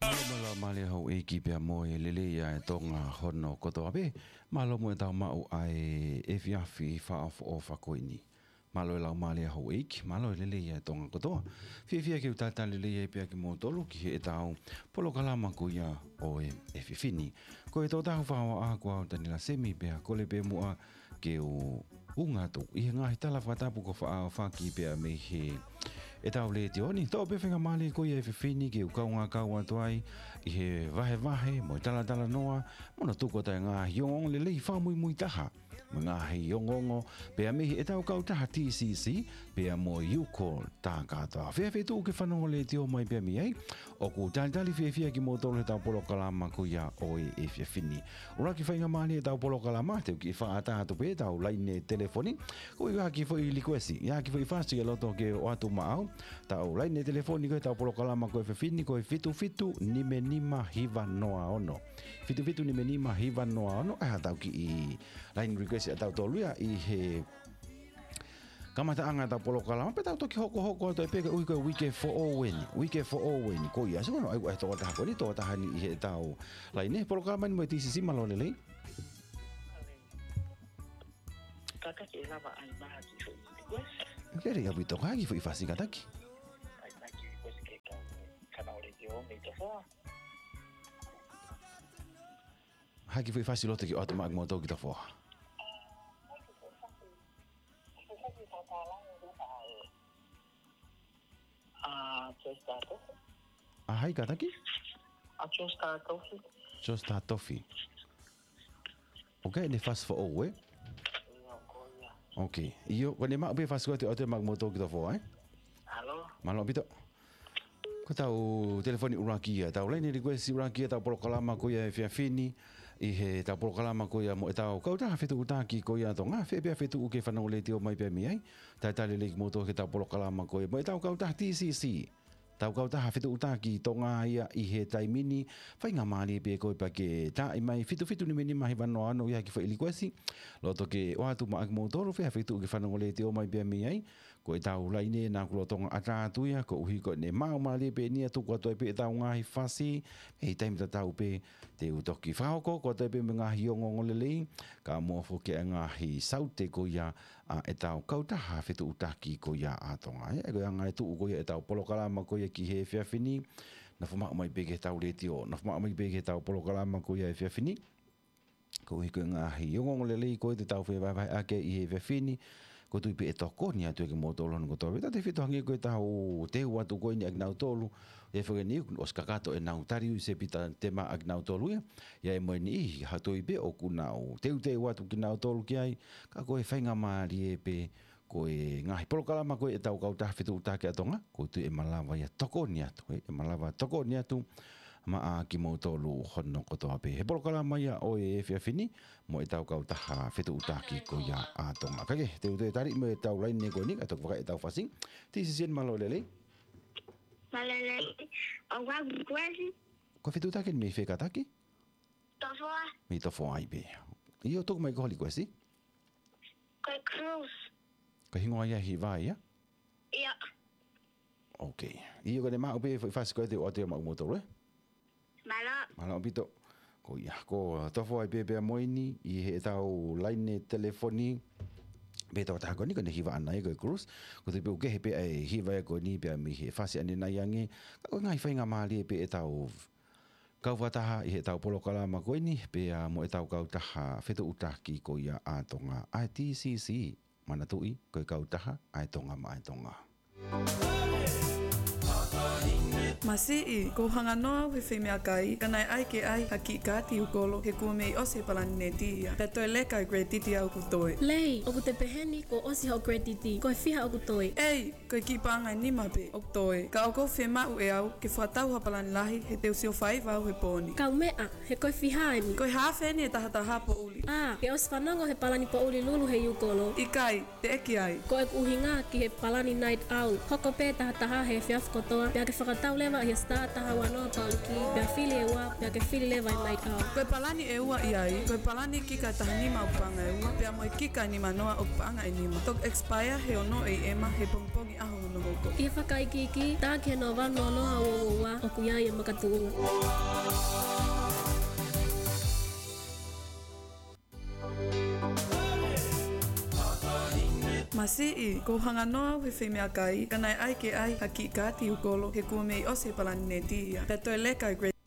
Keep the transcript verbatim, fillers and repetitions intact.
Mālō mo e laumālie houʻeiki pea mo e lelei ʻa e Tonga hono kotoa pē. Mālō mo ʻetau maʻu ʻa e efiafi fakaʻofoʻofa ko eni. Mālō e laumālie houʻeiki, mālō e lelei ʻa e Tonga kotoa. Fiefia ke u talitali lelei ai pea kimoutolu ki heʻetau polokalama ko ia ʻo e efiafi ni. Ko e tokotaha fakaʻofoʻofa ko au Taniela Semi pea kole pē muʻa ke u ʻunga atu ʻi he ngaahi tala fakatapu kuo faʻa ʻohofaki pea mei heʻetau letiō ni. Toʻo pē faingamālie ko ia e efiafi ni ke u kaungā kau atu ai ʻi he vahevahe mo e talatalanoa mo hono tuku atu e ngaahi ongoongo lelei fakamuimui taha mo e ngaahi ongoongo pea mei heʻetau kautaha T C C pea mo e U Call. Tākātoa fē feituʻu ke fanongo letiō mai pea mei ai, ʻoku talitali fiefia kimoutolu heʻetau polokalama ko ia ʻo e efiafi ni. ʻUluaki faingamālie ʻetau polokalama, te u kiʻi fakaʻatā atu pē ʻetau laine telefoni. Ko e ʻi ai ha kiʻi foʻi likuesi, ʻi ai ha kiʻi foʻi fasi ʻe loto ke ʻoatu maʻau, ʻetau laine telefoni ko ʻetau polokalama ko e efiafi ni ko e fitu fitu nima nima hiva noa ono. Fitu fitu nima nima hiva noa ono, ʻa ia ʻetau kiʻi laine likuesi ʻatautolu ia ʻi he kamataʻanga ʻetau polokalama, pea tau toki hokohoko atu ai pē koeʻuhi ko e uike foʻou eni, uike foʻou eni. Ko ia, sio ko hono ʻai ʻa e tokotaha ko eni, tokotaha ni ʻi heʻetau laine, polokalama ni mo e T C C, mālō e lelei. Kātaki ʻe lava ʻai mai ha kiʻi foʻi likuesi. Lelei ʻaupito, ha kiʻi foʻi fasi kātaki. ʻAi mai ha kiʻi likuesi ke kau, kātaki ʻo letiō mei Tofoa. Ha kiʻi foʻi fasi ʻe loto ke ʻoatu maʻa kimoutolu ki Tofoa. ʻA Joe Star Tofi. ʻA hai kātaki? ʻA Joe Star Tofi. Joe Star Tofi. ʻOku ʻi ai ʻene fasi foʻou, ē? ʻIo, ko ia. Ok. ʻIo, ko ʻene maʻu pē fasi ko ē te u ʻoatu maʻa kimoutolu ki Tofoa, ē? Mālō. Mālō ʻaupito. Ko ʻetau telefoni ʻuluaki ia, ʻetau laine likuesi ʻuluaki ia ʻetau polokalama ko ia e efiafi ni, ʻi heʻetau polokalama ko ia mo ʻetau kautaha fetuʻutaki ko ia ʻa Tonga, fē pē feituʻu ke fanongo letiō mai pea mei ai, talitali lelei kimoutolu ki heʻetau polokalama ko ia mo ʻetau kautaha T C C, ʻetau kautaha fetuʻutaki Tonga ia ʻi he taimi ni, faingamālie pē koe pea ke taaʻi mai fitu fitu nima nima hiva noa ono ʻi ai ha kiʻi foʻi likuesi, loto ke ʻoatu maʻa kimoutolu, fē feituʻu ke fanongo letiō mai pea mei ai, ko ʻetau laine naʻa ku lolotonga ʻatā atu ia, koeʻuhi ko ʻene maʻu mālie pē eni ia tuku atu ai pē ʻetau ngaahi fasi, ʻi he taimi tatau pē te u toki fakahoko atu ai pē mo e ngaahi ongoongo lelei, kae ʻumaʻā foki e ngaahi saute ko ia ʻa ʻetau kautaha fetuʻutaki ko ia ʻa Tonga. ʻE, ko e anga e tuʻu ko ia ʻetau polokalama ko ia ki he efiafi ni, nofo maʻu mai pē ki heʻetau letiō, nofo maʻu mai pē ki heʻetau polokalama ko ia efiafi ni. Koeʻuhi ko e ngaahi ongoongo lelei ko ē te tau fevahevaheʻaki ʻi he efiafi ni, ʻoku ou tui pē ʻe tokoni atu ia kimoutolu hono kotoa pē. Tautautefito hangē ko ʻetau teu atu ko eni ʻa kinautolu, ʻe fekeni ʻosi kakato ʻenau tali ui sepita tema ʻa kinautolu ia. ʻI ai mo e niʻihi, ʻoku ou tui pē ʻoku nau teuteu atu kinautolu ki ai, ka ko e faingamālie pē ko e ngaahi polokalama ko ē ʻetau kautaha fetuʻutaki ʻa Tonga, ʻoku ou tui ʻe malava ia tokoni atu, ʻe, ʻe malava tokoni atu maʻa kimoutolu hono kotoa pē. He polokalama ia ʻo e efiafi ni, mo ʻetau kautaha fetuʻutaki ko ia ʻa Tonga. Kae kehe, te u toe tali mo ʻetau laine ko eni, kae toki fakaʻi ʻetau fasi. Tisi Sien, mālō e lelei. Mālō e lelei. ʻOku ou likuesi. Ko e fetuʻutaki mei fē kātaki? Tofoa. Mei Tofoa ai pē. ʻIo, tuku mai ko ho likuesi. Ko e Cruise. Ko e hingoa ia e hiva ia? ʻIo. Ok. ʻIo, ko ʻene maʻu pē foʻi fasi ko ē te u ʻoatu ia maʻa kimoutolu, ē? Mālō. Mālō ʻaupito. Ko ia, ko Tofoa ai pē pea mo eni, ʻi heʻetau laine telefoni. Pea tokotaha ko eni, ko ʻene hiva ʻaʻana ia ko e Cruise. ʻOku ou tui pē ʻoku kehe pē ʻa e hiva ia ko eni pea mei he fasi ʻanenai ange. Ka ko e ngaahi faingamālie pē ʻetau kau fakataha ʻi heʻetau polokalama ko eni, pea mo ʻetau kautaha fetuʻutaki ko ia ʻa Tonga, ʻa e T C C, manatuʻi, ko e kautaha ʻa e Tonga maʻa e Tonga. Masiʻi, kuo u hanga noa au he feimeʻakai, ka naʻe ʻai ke ʻai ha kiʻi kaati ʻūkolo, he kuo mei ʻosi e palani neti ia. Pea toe leka e credit ia ʻoku toe. Lei, ʻoku te pehē ni kuo ʻosi hoʻo credit, ko e fiha ʻoku toe? ʻEi, ko e kiʻi paʻanga ʻe nima pē ʻoku toe. Ka ʻoku ou fiemaʻu ʻe au ke fakatau ha palani lahi he te u sio faiva au he pō ni. Kaumeʻa, he ko e fiha eni? Ko e haafe eni e taha taha poʻuli. ʻĀ, ke ʻosi fanongo he palani poʻuli lulu he ʻūkolo? ʻIkai, teʻeki ai. Ko ʻeku ʻuhinga ki he palani night out. Hoko pē taha taha he efiafi kotoa, pea ke fakatau leva ʻi he star taha ua noa paʻuli ki, pea fili e ua, pea ke fili leva e night out. Ko e palani ʻe ua ʻi ai, ko e palani kika ʻe taha nima ʻoku paʻanga ʻe ua, pea mo e kika ʻe nima noa ʻoku paʻanga ʻe nima. Toki expire he ono ʻe ʻema he pongipongi ʻaho hono hoko. ʻI he fakaikiiki, tā ki he noa valu noa noa ua ua ua, ʻoku ʻi ai e makatuʻunga. Masiʻi, kuo u hanga noa au he feimeʻakai, ka naʻe ʻai ke ʻai ha kiʻi kaati ʻūkolo, he kuo mei ʻosi e palani neti ia. Pea toe leka e Great